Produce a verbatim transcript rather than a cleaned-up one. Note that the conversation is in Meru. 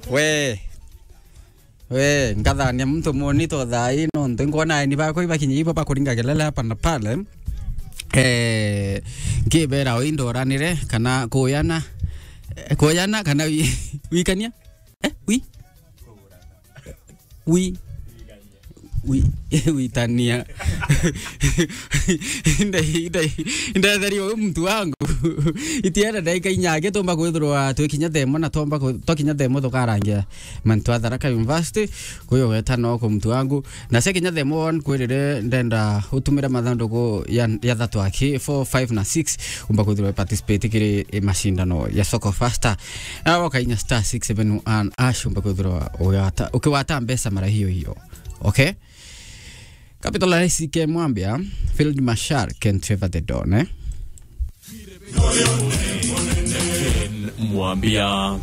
We. We, ngathania muntu muni to thai, nontu nkwona aeni bakwa ibakinya ibo bakuringa kelele hapa na pale. Eh, nkibera o indoranire kana kuyana, eh, kuyana kana wi-, wikania? Eh, wi? Wi? Wi-, witania. Inde, inde, inde theri uyu muntu wangu. Itienda ndaika inya ake tumba kwithirwa twikinya themo na tomba ku-, twakinya themo tukarangia mantu a Tharaka University. Kuyo weta no ku muntu wangu. Na cia kinya themo one kwirire ndenda utumire mathanduku ya, ya thatu aki four, five na six. Umba kwithirwa participate kiri i mashindano ya Soko Fasta. Na woka inya star six seven one hash umba kwithirwa ugata-, ukiwata mbeca mara hiyo hiyo. Okay? Capital Rais Ken Mwambia, Field Marshal Ken Trevor the Don, eh? Mwambia.